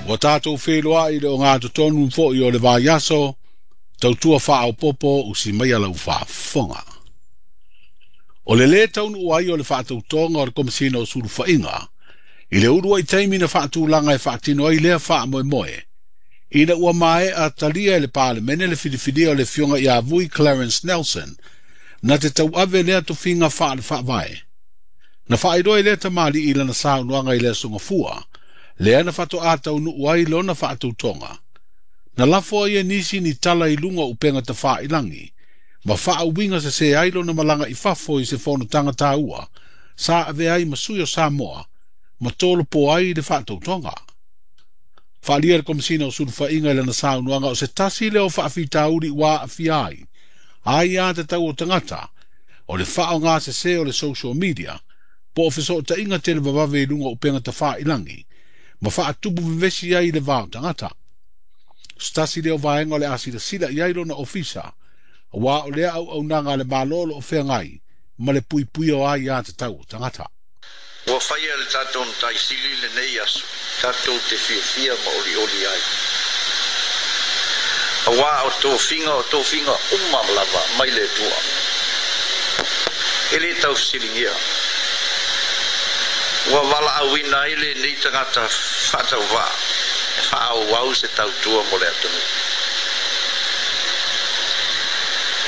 Ua tatou feiloai i le ogatotonu foi o le vaiaso, tautua faaopoopo usi maia lau faafofoga. O le lē taunuu ai o le faatautoga o le Komesina o Sulufaiga i le uluai taimi na faatulaga e faatino ai lea faamoemoe, ina ua maea talia e le Palemene le filifilia o le Afioga ia Vui Clarence Nelson na te tauave lea tofiga faale-faavae. Na faailoa e lea tamalii i lana saunoaga i le Aso Gafua, lea na faatoa taunuu ai lona faatautoga. Na lafo ai e nisi ni tala i luga o upega tafailagi, ma faauiga sesē ai lona malaga i fafo i se fonotaga taua, sa avea ai ma sui o Samoa, ma tolopo ai le faatautoga. Faaalia le Komesina o Sulufaiga i lana saunoaga o se tasi lea o faafitauli ua aafia ai aiatatau o tagata, o le faaaoga sesē o le social media, po o fesootaiga televavave i luga o upega tafailagi, ma faatupu vevesi ai i le va o tagata. O se tasi lea o vaega o le a silasila i ai lona ofisa, aua o lea auaunaga a le Malo o lo o feagai ma le puipuia o aiatatau o tagata. Ua faia e le tatou Matai Sili lenei aso tatou te fiafia ma olioli ai, auā o tofiga o tofiga uma lava mai le Atua, e lē taufesiligia. Ua valaauina ai lenei tagata faatauvaa e faaauau se tautua mo le atunuu.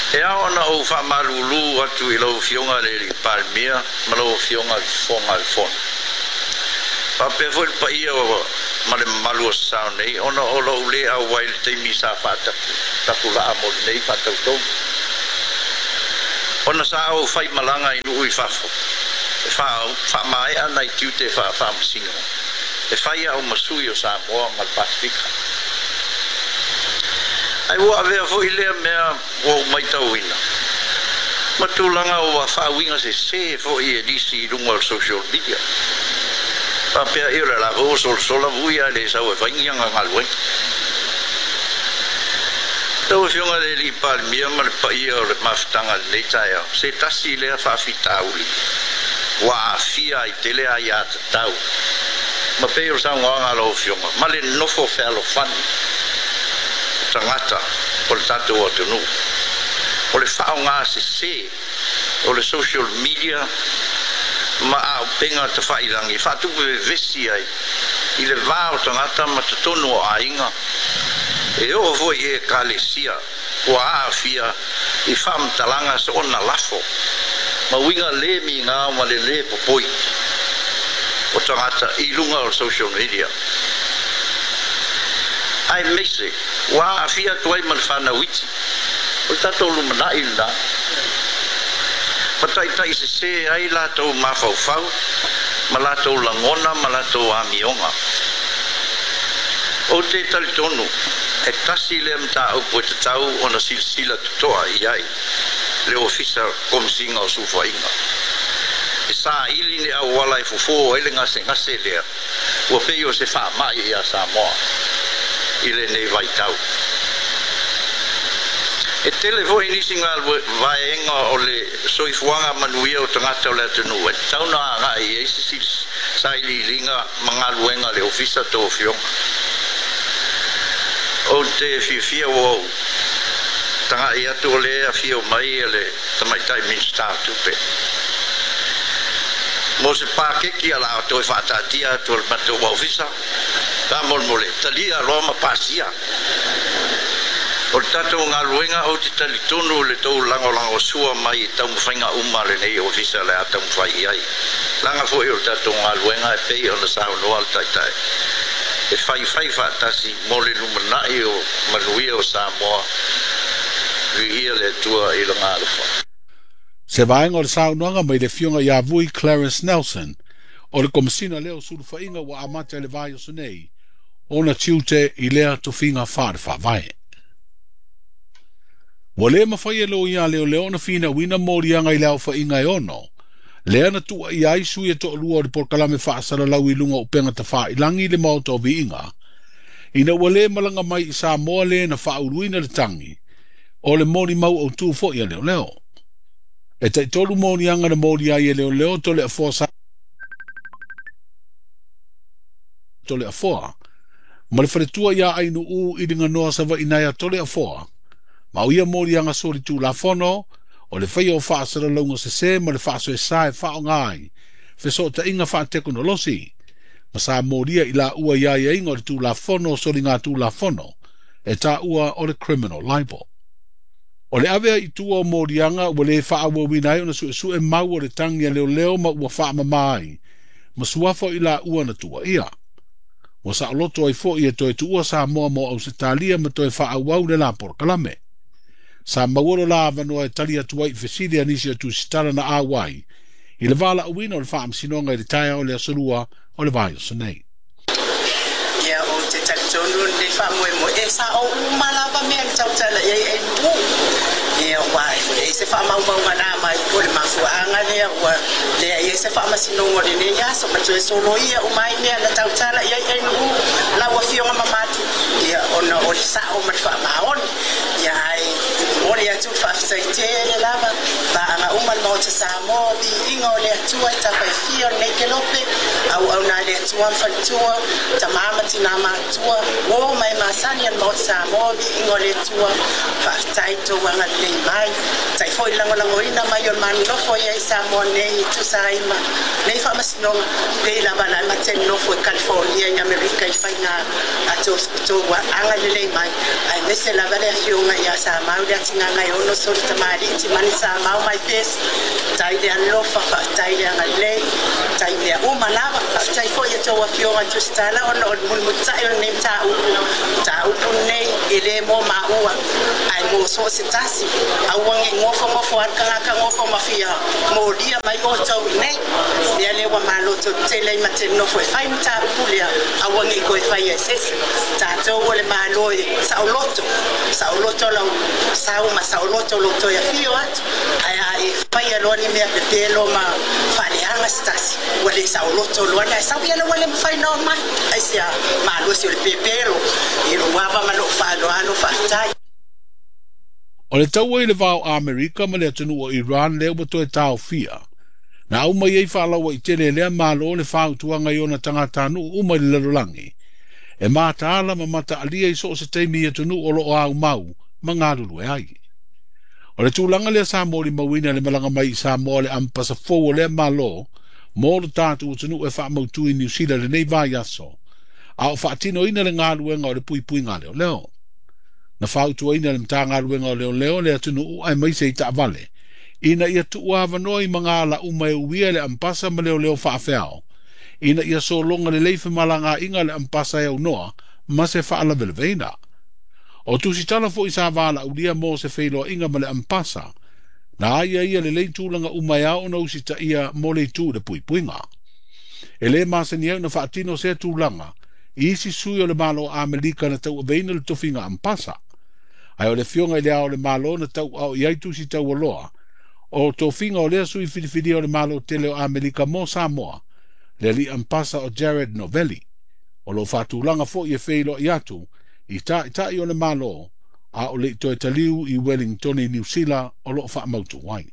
E ao ona ou faamalulū atu i lau Afioga i le Alii Palemia ma lau Afioga i le Fofoga o le Fono, faapea foi le paia ma le mamalu o Sasao nei, ona o lou lē auai i le taimi sa faatapulaa mo lenei faatautoga, ona sa ou faimalaga i nuu i fafo e faamaea nai tiute faafaamasino e fai au ma sui o Samoa ma le Pasefika. Ae ua avea foi lea mea ua ou matauina ma tulaga ua faauiga sesē foi e nisi i luga o le social media, faapea ia o le la foi ua solasola Vui ae le sau e fai ni ana galuega. Lau Afioga i le Alii Palemia ma le paia o le mafutaga i lenei taeao, se tasi lea faafitauli ua aafia ai tele aiatatau ma pei o le saunoaga a lau Afioga ma le nofo fealofani o tagata o le tatou atunuu, o le faaaoga sesē o le social media ma auupega tafailagi e faatupu vevesi ai i le va o tagata ma totonu o aiga, e oo foi i ekalesia ua aafia i faamatalaga soona lafo ma uiga lē migao ma le lē popoi o tagata i luga o le social media, aemaise ua aafia atu ai ma le fanau iti o le tatou lumanai lenā, ma taitai sesē ai latou mafaufau ma latou lagona ma latou amioga. Ou te talitonu e tasi lea mataupu e tatau ona silasila totoa i ai le Ofisa Komesina o Sulufaiga, e saili ni auala e fofo ai le gasegase lea ua pei o se faamai iā Samoa i lenei vaitau. E tele foi nisi vaega o le soifuaga manuia o tagata o le atunuu e tatau ona agai i ai se sailiiliga ma galuega a le Ofisa a tou afioga. Ou te fiafia ua ou tagai atu o lea e afio mai le Tamaitai Minisita o Tupe mo se pakeki a la toe faataatia atu o le matou ofisa. Faamolemole talia loa ma pasia. O le tatou galuega, ou te talitonu i le tou lagolagosua mai i taumafaiga uma a lenei ofisa o le a taumafai i ai, leaga foi o le tatou galuega e pei ona saunoa le Taitai, e faifai faatasi mo le lumanai o manuia o Samoa. Viia le Atua i lona alofa. Se vaega o le saunoaga mai le Afioga ia Vui Clarence Nelson, o le Komesina lea o Sulufaiga ua amata i le vaiaso nei ona tiute i lea tofiga faale-faavae. Ua le mafai e loia a leoleo ona finauina moliaga i le aofaiga e 6, lea na tuuaia ai sui e toalua o le polokalame faasalalau i luga o upega tafailagi i le Maota o Viiga, ina ua lē malaga mai i Samoa lē na faauluina le tagi o le molimau autū foi a leoleo. E taitolu moliaga na moli ai e leoleo Toleafoa Toleafoa Ma le faletua ia Ainuu i Liganoa Savaii nai a Toleafoa, ma o ia moliaga solitulafono, o le faia o faasalalauga sesē ma le faasoesa e faaaoga ai fesootaiga faatekonolosi, ma sa molia i laua i aiaiga o le Tulafono o Soligatulafono e taua o le criminal libel. O le ave ai i tua o moliaga ua lē faaauauina ai ona suesue mau o le tagi a leoleo ma ua faamamā ai ma suafa o i laua na tuuaia. Ua saoloto ai foi e toe tuua Samoa mo Ausetalia ma toe faaauau le la polokalame. Sa maua lo la avanoa e tali atu ai i fesili a nisi o tusitala na auai i le valaauina o le Faamasinoga i le taeao o le Aso Lua o le vaiaso nei. Ia, ou te talitonu lenei faamoemoe e sao uma lava mea na tautala i ai Ainuu. Ia, aua e leai se faamaumauga na aumai po o le mafuaaga lea ua leai ai se faamasinoga o lenei aso ma toe soloia uma ai mea na tautala i ai Ainuu, lau Afioga mamalu, ia, ona o le sao ma le faamaoni. Ia, ae momoli atu le faafetai tele lava, paaga uma le Maota Samoa, viiga o le Atua i tafaifia o lenei kelope, auauna a le Atua ma faletua, tama ma tina matutua, uo ma e masani a le Maota Samoa, viiga o le Atua, faafetai tou agalelei mai, faafetai foi le lagolagoina mai o le manonofo ia i Samoa nei e tusa ai ma nei faamasinoga, pei lava na ma te nofo i California i Amerika i faiga a tou agalelei mai, aemaise lava le afioga ia Samau le Atigaga e ono soli tamalii Timani Samau mai pesi, faafetai le alofa, faafetai le agalelei, faafetai mea uma lava, faafetai foi i tou afioga tusitala ona o le mulimulitai o lenei mataupu lenei e le mo maua ae mo so o se tasi, aua ne i gofogofo lava le tagata gofo ma fia molia mai outou i inei, mea lea ua maloto tele ai ma te nofo e fai mataupu lea, aua ne i toe faia e se isi, tatou o le Malo e saoloto, saoloto lau sau ma saoloto lou toe afio atu, ae a e faia loa ni mea pepelo ma faaleaga se tasi, ua le saoloto loa le ae sau ia ua le mafai ona oo mai, aisea malosi o le pepelo i lou ava ma lou faaaloalo, faafetai. O le taua i le va o Amerika ma le atunuu o Iran lea ua toe taofia, na aumai ai faalauaitele e lea Malo le fautuaga i ona tagatanuu uma i le lalolagi, e mataala ma mataalia i so o se taimi i atunuu o loo aumau ma galulue ai. O le tulaga lea sa molimauina le malaga mai i Samoa le ampasa fou o lea Malo mo lo tatou atunuu e faamautu i Niu Sila lenei vaiaso, a o faatinoina le galuega o le puipuiga leoleo. Na fautuaina le Matagaluega o Leoleo le atunuu aemaise i taavale, ina ia tuuavanoa i magala uma e uia le ampasa ma leoleo faafeao, ina ia sologa lelei femalagaaiga le ampasa e aunoa ma se faalavelaveina. O tusitala foi sa valaaulia mo se feiloaiga ma le ampasa, na aia ia lelei tulaga uma e ao ona usitaia mo le itu i le puipuiga. E lē masani ai ona faatino sea tulaga i isi sui o le Malo o Amerika na tauaveina le tofiga ampasa. Ae o le afioga i le Ao o le Malo na tauaao i ai tusi taualoa o tofiga o lea sui filifilia o le Malo tele o Amerika mo Samoa, le alii ampasa o Jared Novelli. O loo faatulaga foi e feiloai atu i taitai o le Malo a o le i toe taliu i Wellington i Niu Sila o loo faamautu ai.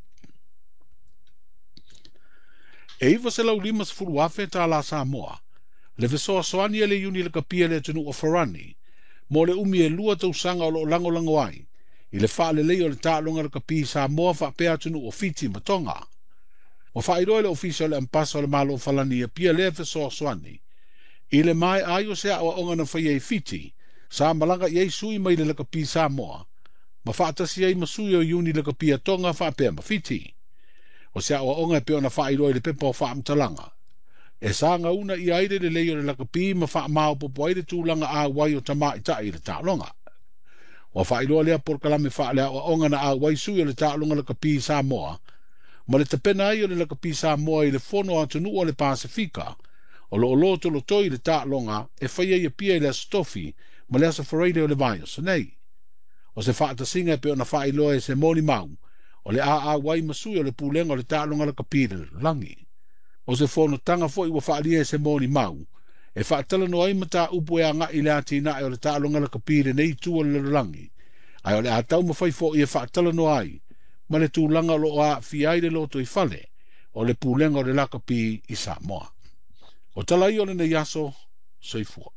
E $950,000 tālā Samoa, le fesoasoani a le Iuni Lakapi a le atunuu o Farani, mo le umi e 2 tausaga o loo lagolago ai, i le faalelei o le taaloga lakapi i Samoa faapea atunuu o Fiti ma Tonga. Ua faailoa e le Ofisa o le Ampasa o le Malo Falani i Apia lea fesoasoani, i le maea ai o se aoaoga na faia i Fiti, sa malaga i ai sui mai le lakapi Samoa, ma faatasi ai ma sui o Iuni Lakapi a Tonga faapea ma Fiti. O se aoaoga e pei ona faailoa i le pepa o faamatalaga, e sagauna ia ai le lelei o le lakapi ma faamaopoopo ai le tulaga auai o tamaitai i le taaloga. Ua faailoa lea polokalame faaleaoaoga na auai sui o le taaloga lakapi i Samoa, ma le tapena ai o le lakapi Samoa i le fono atunuu o le Pasefika, o loo lotolotoi le taaloga e faia i Apia i le Aso Tofi ma le Aso Faraile o le vaiaso nei. O se faatasiga e pei ona faailoa e se molimau, o le auai ma sui o le pulega o le taaloga lakapi i le lalolagi. O se fonotaga foi ua faaalia e se molimau, e faatalanoa ai mataupu e agai i le atinae o le taaloga lakapi i lenei itu o le lalolagi, ae o le a taumafai foi e faatalanoa ai ma le tulaga o loo aafia ai le lotoifale o le pulega o le lakapi i Samoa. O tala ia o lenei aso, soifua.